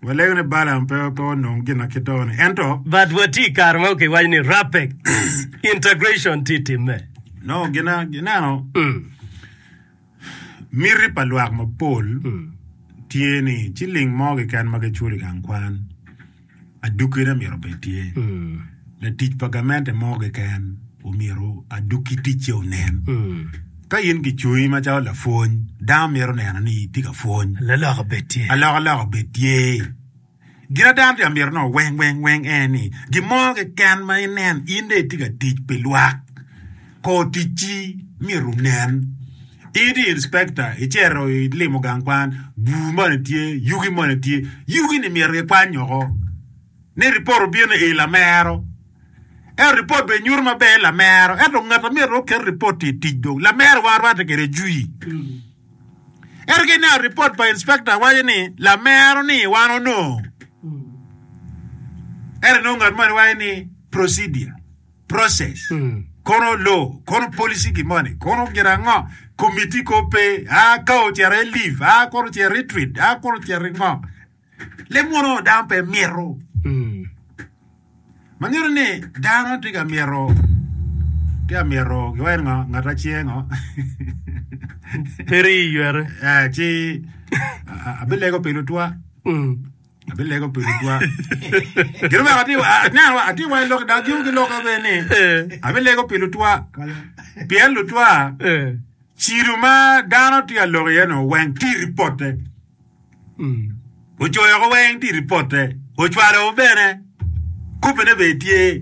S2: walego ni Balaam pe pe onong gin ma kit ni ento
S3: But watye i kare ma kiwaco ni RAPEX integration tye timme.
S2: no gina gineno Miti pa lwak mapol tye ni ciling mo keken ma giculo i gang kwan adukkine myero obed tye. Latic pa gamente mo keken omyero adukki ticce onen. Ka in kicoyi macalo lapwony, dano mito neno ni itye ka pwony. Alokaloka obed tye. Gin ma dano tye ka mito nongo weng weng weng en ni, gin mo keken ma inen in dong itye ka tic pi lwak, kor ticci myero onen. In itye inspector, icito ilimo gang kwan, bur moni tye, yugi moni tye, yugi-ni myero gikwany woko. Ni ripot obino i lamero, ento ripot bene nyuto maber lamero, ento ngat ma myero oket ripot-ti i tic dong lamero wan rwatte kwede jwi. Ento ka ineno ripot pa inspector waco ni lamero ni wan onongo. Ento inongo ngat moni waco ni procedure, process, kono law, kono policy gi moni, kono gin ango, committee ko pe, a ka ocito i leave, a kono ocito i retreat, a kono ocito i ngo. Leb munu dano pe mito. Ma nyuto ni dano tye ka mito Tye amito giwaco ni ngo ngat acye ngo
S3: Pe rii ywere.
S2: Eh, ci abilego pi lutwa. Abilego pi lutwa. Gin oweko atye aneno atye wa i lok dok gin giloko bene ni abilego pi lutwa. Pien lutwa cido ma dano tye ka lok iye no weng tye i ripotte. Ocoyo woko weng tye i ripotte, ocwalo bene, kopine bene tye.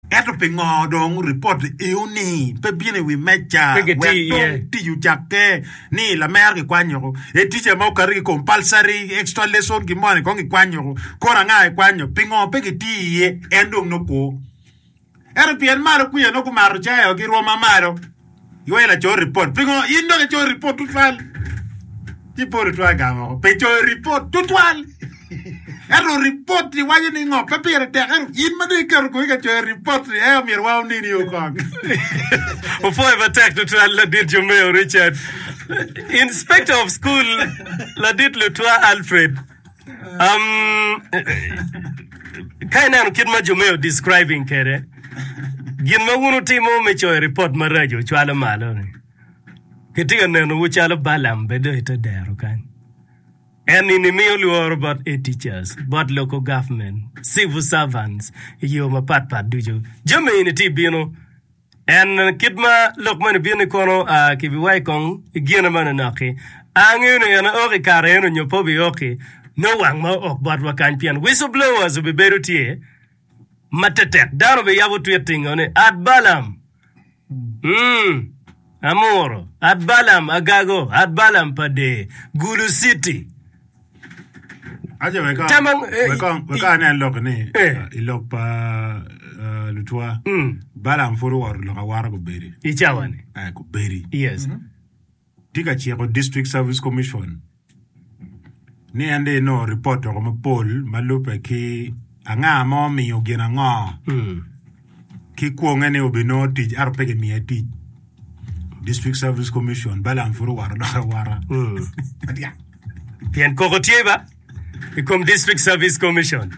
S2: Ento pingo dong ripot eoni pe bino i wi meja
S3: Pe gitiyo
S2: wek
S3: iye.
S2: dong tic ocakke ni lamero kikwanyo woko? E tica ma okati ki compulsory extra lesson gin moni kong kikwanyo woko, kono anga kikwanyo? Pingo pe gitiyo iye? En dong nongo kwo. Ento pien malo kwica nongo gumato cayo ki rwom ma malo, giwaco laco ripot. Pingo in dok icoyo ripot tutwal? Ci pol otwa gamo woko. Pe coyo ripot tutwal. Ento ripot-ti waco ni ngo? Pe pire tek. Ento in ma dong iketo koyi ka coyo ripot-ti, ee omyero wa onini o kong.
S3: Opwoyo matek tutwal ladit Jomeo Richard. Inspector of school ladit Lutwa Alfred. Um, ka ineno kit ma Jomeo describing kwede, gin ma wun wutimo me coyo ripot maraco cwalo malo-ni. Kitye ka nenowu calo Balaam bed dong i te dero kany. En nini miyo lworo bot a teachers, bot local government, civil servants i yo mapat pat ducu. Jami eni tye bino. En kit ma lok moni bino ni kono kibiwaco kong i gine manonok-ki. Angeyo ni en ook i kare eno nyo pe obiok-ki, nongo wang ma ook botwa kany pien whistleblowers obibedo tye ma tetek. Dano obiyabo twit tingo ni at Balaam, mm, Amuro, at Balaam Agago, at Balaam pa Dee, Gulu City.
S2: Ace wek
S3: Tam ang- eh,
S2: wek kong- wek kong anen lok ni
S3: Eh.
S2: i lok pa eh, lutwa
S3: Mm.
S2: Balaam pud owoto lok awara gubedi
S3: I cawa-ni.
S2: Eh, gubedi
S3: Yes.
S2: tye ka ciko District Service Commission ni en dong enongo ripot woko mapol ma lubbe ki anga ma omiyo gin ango
S3: Mm.
S2: ki kwonge ni obinongo tic ento pe kimiye tic. District Service Commission Balaam pud owoto dok awota.
S3: Mm. Pien koko tye ba i kom District Service Commission.